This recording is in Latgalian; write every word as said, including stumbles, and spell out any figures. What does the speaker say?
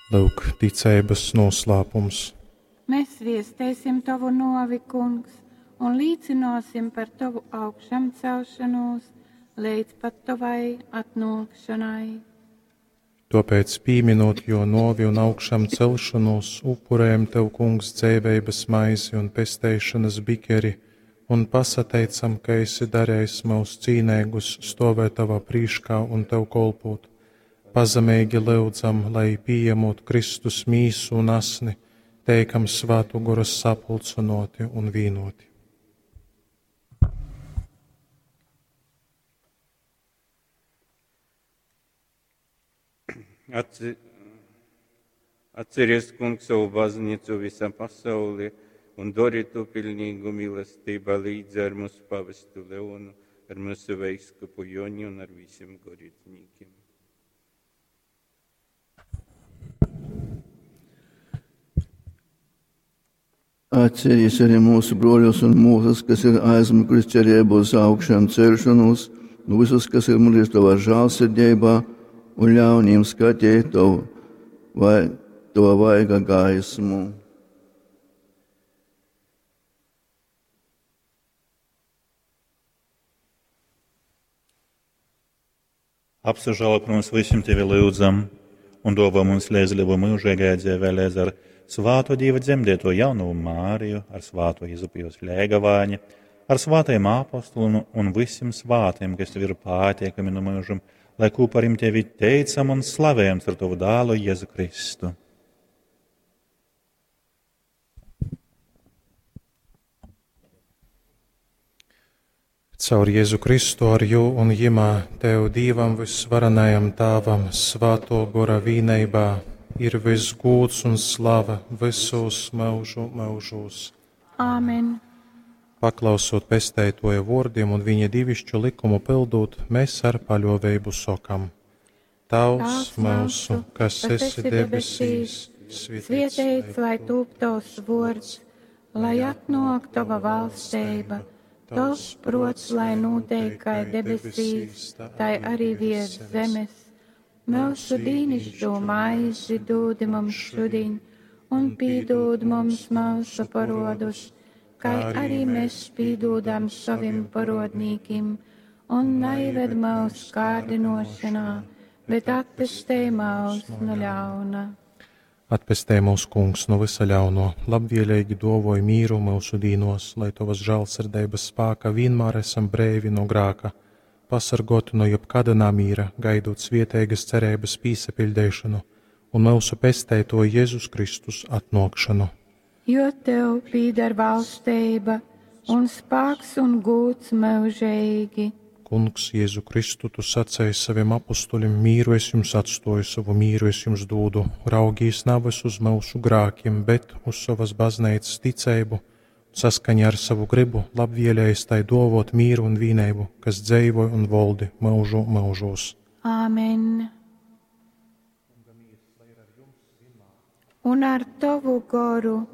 Lyuk, ticeibas nūslāpums. Mēs viesteisim tovu nōvi, Kungs, un līcynōsim par tovu augšamcelšonūs leidz pat tovai atnōkšonai. Tōpēc, pīminūt jō nōvi un augšamcelšonūs, upurejam tev, Kungs, dzeiveibas maizi un pesteišonas bikeri un pasateicam, ka esi darejis myus cīneigus stōvēt tovā prīškā un tev kolpōt. Pazemeigi lyudzam, lai, pījemūt Kristus mīsu un asni, teikam Svātō Gora sapulcynōti un vīnōti. Atci, atceries, Kungs, savu baznīcu visā pasaulē un dori to pilnīgu mīlestībā līdz ar mūsu pavestu Leonu, ar mūsu veiskupu Joni un ar visiem garīdzniekiem. Atceries arī mūsu broļus un mūsas, kas ir aizmiguši cerību uz augšām celšanos, un visus, kas ir miruši tavā žēlsirdībā, un ļauj viņiem skatīt tavu vai tava vaiga gaismu. Apsažālo par mums visiem tevi lūdzam un dāvā mums līdzdalību mūžīgajā dzīvē līdz ar svāto Dieva dzemdēto jaunavu Māriju, ar svāto Jezupu jos Ļēgavāņi, ar svātajiem apostoliem un visiem svātiem, kas tev ir pateikami no mūžam, lai kopā ar tevi teicam un slavējam ar tavu dēlu Jēzu Kristu. Caur Jēzu Kristu ar jū un jimā tev Dīvam vysvarenajam Tāvam svātō Gora vīneibā ir viss gūds un slava visos myužu myužūs. Āmen. Paklausot pesteitoja vōrdim un viņa divišķu likumu pildūt, mēs ar paļōveibu sokam: Tavs myusu, kas esi debesīs, Svietēts, lai tūp tavs vōrds, lai atnōk tava valsteiba, tavs prots, lai notiek kai debesīs, tai arī virs zemes. Mūsu dīnišķo maizi dūdi mums šodien, un pīdūd mums mūsu parodus, kai arī mēs pīdūdam savim parodnīkim, un neived mūsu kārdinošanā, bet atpestej mūs no ļauna. Atpestej mūs, Kungs, no visa ļauno, labvēlīgi dovoj mīru mūsu dīnos, lai tavas žēlsirdības spāka vienmēr esam breivi no grāka, pasargoti no jebkāda namīra, gaidot svieteigas cerības pīsapiļdeišanu un mūsu pesteito Jēzus Kristus atnākšanu. Jo tev pīdar valstība un spāks un gūts mūžīgi. Kungs, Jēzu Kristu, tu sacēji saviem apustuļiem, mīru es jums atstoju, savu mīru es jums dūdu. Raugīs navas uz mūsu grākiem, bet uz savas baznīcas ticību, saskaņā ar savu gribu, labvēlējis tai dovot mīru un vīneibu, kas dzeivoja un voldi mūžu mūžos. Āmen. Un ar tavu goru.